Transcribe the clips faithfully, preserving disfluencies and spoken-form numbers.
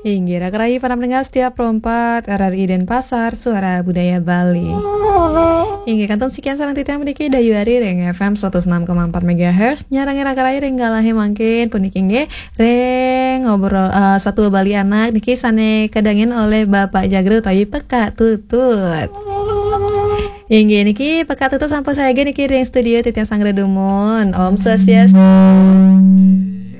Inggih, raka rayi para pendengar setia Pro empat R R I Denpasar, Suara Budaya Bali. Inggih, kantun sekian sareng titiang puniki Dayu Ari ring F M seratus enam koma empat megahertz, nyarengin raka rayi ring galahé mangkin puniki inggih ring ngobrol, eh, Satua Bali Anak niki sané kadangin olih Bapak Jagre utawi Pekak Tutut. Inggih, niki Pekak Tutut sampun sayaga niki ring studio titiang sanggra dumun. Om Swastiastu.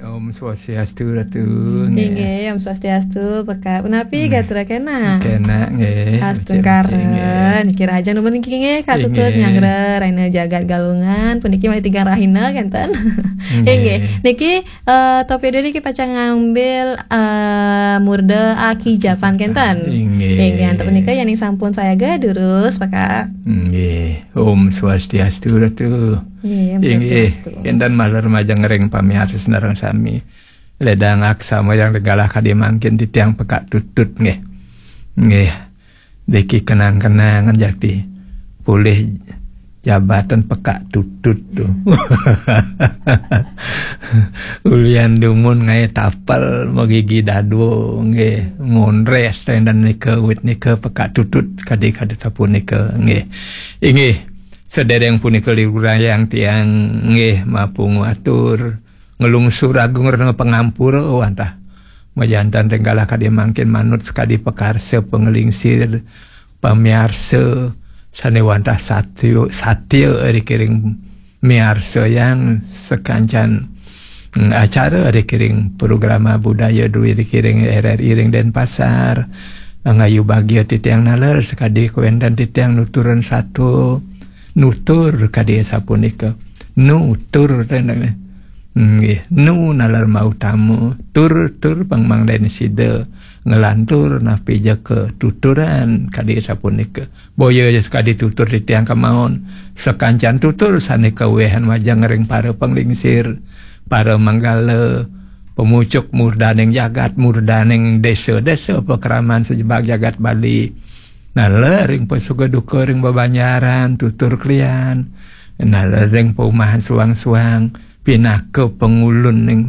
Om Swastiastu, Ratu. Nggih. Inggih, Om Swastiastu, Pekak. Punapi gatra kenak? Kenak, nggih. Astungkara. Nggih. Niki rahajeng dumun niki nggih, Kak Tutut, inggih, nyanggra rahina jagat Galungan. Puniki malih tigang rahina kenten. Nggih. Inggih. Niki, eh, Torpedo niki pacang ngambil, eh, murda Aki Japan kenten. Inggih. Inggih, antuk punika yéning sampun sayaga durus, Pekak. Nggih. Om Swastiastu, Ratu. Nggih, Om Swastiastu. Inggih, kenten malih majeng ring pamiarsa sareng sami. Ledang aksama yang galah kadi mangkin titiang Pekak Tutut nggih. Nggih. Niki kenang-kenangan jakti. Polih jabatan Pekak Tutut tuh. Ulian dumun ngaé tapel magigi dadua nggih. Mondres téndan nika wit nika Pekak Tutut kadi-kadi sapunika nggih. Inggih. Sedereng punika liurayang tiang nggih mapungu atur nglungsur agung rena pangampura wantah majanten ring galah kadi mangkin manut sakadi pakarsa panglingsir pamiarsa sané wantah satya, satya ring miarsayang sakancan, mm, acara ring program budaya duwé ring R R I ring Denpasar. Ngayu bagia titiang naler sakadi kawénten titiang nuturan satua nutur kadi sapunika. Nutur téh nggih. Nu nalar mautama, tur-tur pang mangdané sida nglantur napi ja ka tuturan kadi sapunika. Boya ja sakadi tutur titiang kamaon, sakancan tutur sané kawéhan majeng ring para panglingsir, para manggala, pamucuk murdaning jagat, murdaning désa-désa pakraman sajebag jagat Bali. Naler ring pasuka duka ring bebanjaran, tutur klian. Naler ring paumahan suang-suang, pinaka pangulun ning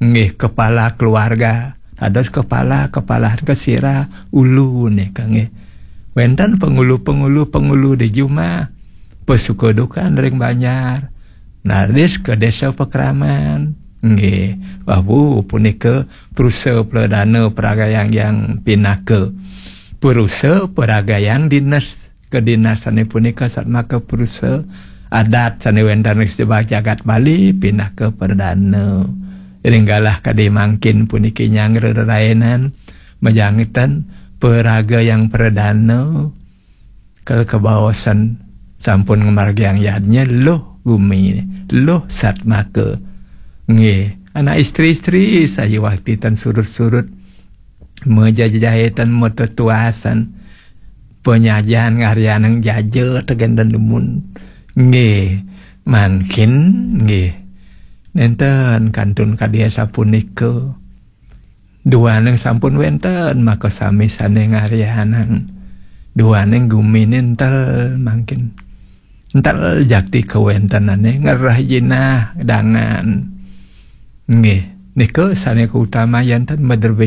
nggih kepala keluarga. Dados kepala, kepala kesira ulu nika nggih. Wénten pangulu-pangulu, pangulu di jumah. Pasuka dukan ring banjar. Nalis ke desa pakraman. Nggih, wau punika prusa pradana pragayang yang pinaka. Prusa pragayang dinas kedinasané punika satmaka prusa adat sané wénten ring sajebag jagat Bali pinaka pradana. Ring galah kadi mangkin puniki nyanggra rerainan majanten praga yang pradana. Kal kabaosan sampun ngamargiang yadnya luh gumi, luh satmaka. Nggih, anak istri-istri sayu wakti tan surut-surut, majajahitan, matetuasan, panyajan ngaryanang jaja tegen dan dumun. Nggih, mangkin, nggih. Nénten kantun kadi sapunika. Duaning sampun wénten, maka sami sané ngaryanang. Duaning guminé entel mangkin. Entel jakti kawéntenané ngerah jinah dangan. Nggih, nika sané kautama yanten madrebé